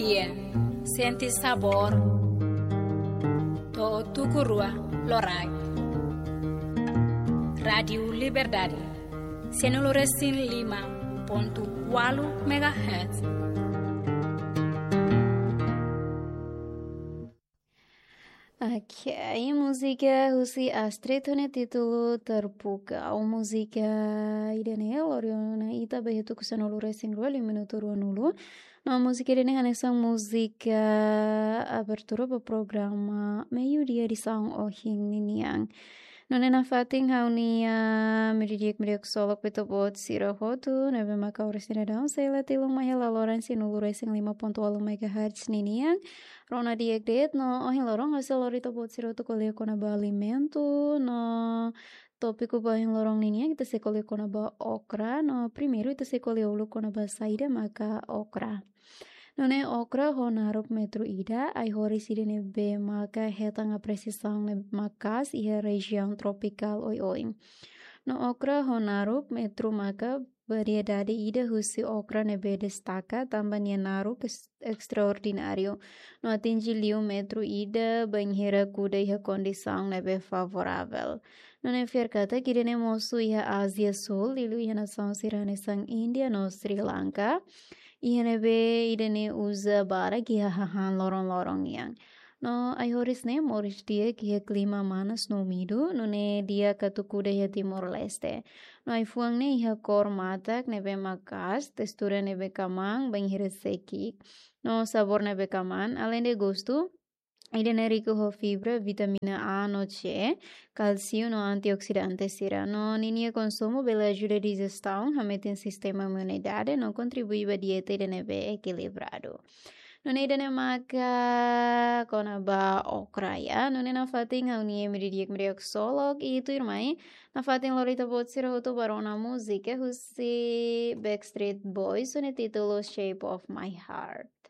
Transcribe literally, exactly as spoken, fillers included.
Iya, sente sabór. To'o tuku rua loraik. Rádiu Liberdade, sianulu resin lima pontu ualu megahertz. Ok, múzika husi Astrid ho nia títulu Terpukau. Múzika ida-ne'e lori ona ita ba iha tuku sanulu resin rua liu minutu ruanulu. No múzika ida-ne'e hanesan múzika abertura ba programa Meiudia edisaun ohin ninian. Nune'e nafatin ha'u-nia meiudia di'ak, meiudia ksolok ba ita-boot sira hotu ne'ebé mak oras ne'e daudaun sei la tilun mai iha laloran sianulu resin lima pontu ualu megahertz ninian. Rona di'ak de'it no ohin loron ha'u sei lori ita-boot sira hotu ko'alia kona-ba alimentu no tópiku ba ohin loron ninian ita sei ko'alia kona-ba okra no primeiru ita sei ko'alia uluk kona-ba saida maka okra. Nune'e okra ho naruk metru ida, ai-horis ida ne'ebé maka hetan apresiasaun ne'ebé maka'as iha rejiaun tropikál oioin. No okra ho naruk metru maka variedade ida husi okra ne'ebé destaka tanba nia naruk es-, estraordináriu. No atinje liu metru ida bainhira kuda iha kondisaun ne'ebé favoravel. Nune'e fiar katak ida-ne'e mosu iha Ázia Súl, liuliu iha nasaun sira hanesan Índia no Sri Lanka. Iha ne'ebé ida-ne'e uza barak iha hahán loron-loron nian. No ai-horis ne'e moris di'ak iha klima manas no úmidu, nune'e di'ak atu kuda iha Timor-Leste. No ai-fuan ne'e iha kór matak ne'ebé maka'as, testura ne'ebé kamaan, bainhira seki'ik. No sabór ne'ebé kamaan, aleinde gostu, ida-ne'e riku ho fibra, vitamina A no C, kálsiu no antioksidante sira. No ninia konsumu bele ajuda dijistaun, hametin sistema imunidade, no kontribui ba dieta ida ne'ebé ekilibradu. Nune'e ida-ne'e maka kona-ba okra ya. Nune'e nafatin ha'u-nia meiudia di'ak, meiudia ksolok, i tuirmai nafatin lori ita-boot sira hotu ba rona múzika husi Backstreet Boys ho nia títulu Shape of My Heart.